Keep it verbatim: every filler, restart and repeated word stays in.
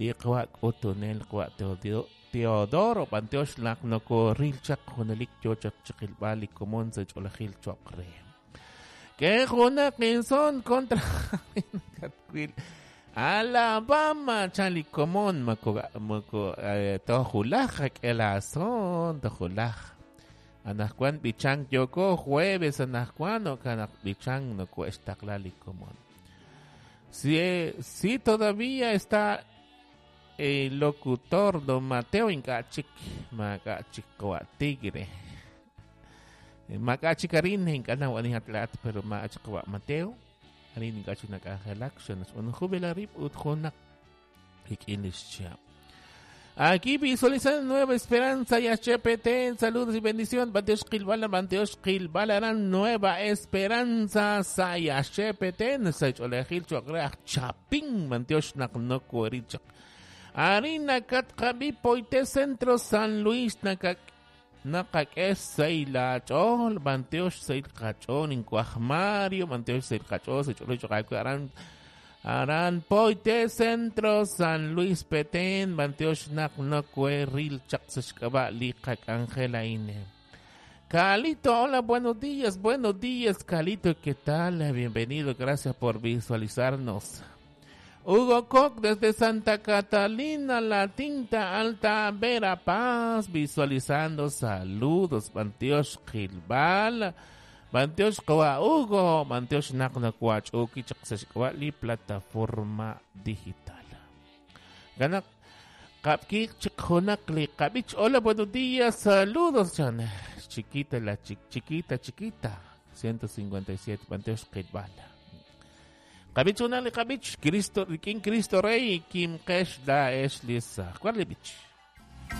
Li qawa' k'utunel qawa' Teodoro b'antiox naq nokoril chaq junelik yo chaq chiqilb'al li komon sa' ch'oolejil cho'q re. Ke junaq inson kontra katwil Alabama chan li komon moko moko tojulaj qak'e la son tojulaj. Anaqwan b'ichank yoko jueves anaqwan okanaq b'ichank noko'extaqla li komon. Si, si todavía está el locutor don Mateo ink'a' chik maak'a' chik qawa' Tigre. Maak'a' chik arin ink'a' nawani atlaat pero maak'a' chik qawa' Mateo. Arin ink'a' chik nak'anjelak xanux rib' ut junaq rik'in lix chihab'. Aquí visualizando Nueva Esperanza y H P T. Saludos y bendición. Banteosh Qilbala, Banteosh Qilbala, Nueva Esperanza, Saya H P T. Sa ch'oolejil cho'q Chapín, Banteosh naq nokoorichaq. Arin nakatqab'i Poite Centro San Luis nakak naqak'e say lach'ool b'antiox say qach'ool inkuaj Mario b'antiox say qach'ool say ch'ool cho'q aran aran Poite Centro San Luis Petén b'antiox naq nokoeril chaq sa xk'ab'a' li qak'anjel a'in. Calito, hola, buenos días, buenos días, Calito, ¿qué tal? Bienvenido, gracias por visualizarnos. Hugo Koch desde Santa Catalina, La Tinta Alta, Verapaz, visualizando. Saludos, b'antiox qilb'al, b'antiox qawa' Hugo, b'antiox naq nokoach'uki chaq sa xk'ab'a' li plataforma digital. Ganak, Kapkik chik li qab'ich. Hola, buenos días, saludos, chan. Chiquita, la chi chiquita, chiquita. ciento cincuenta y siete, b'antiox qilb'al. Qab'ich una li qab'ich, Cristo, King Cristo Rey, Kim Kesh da Eshlisa. ¿Cuál le bich?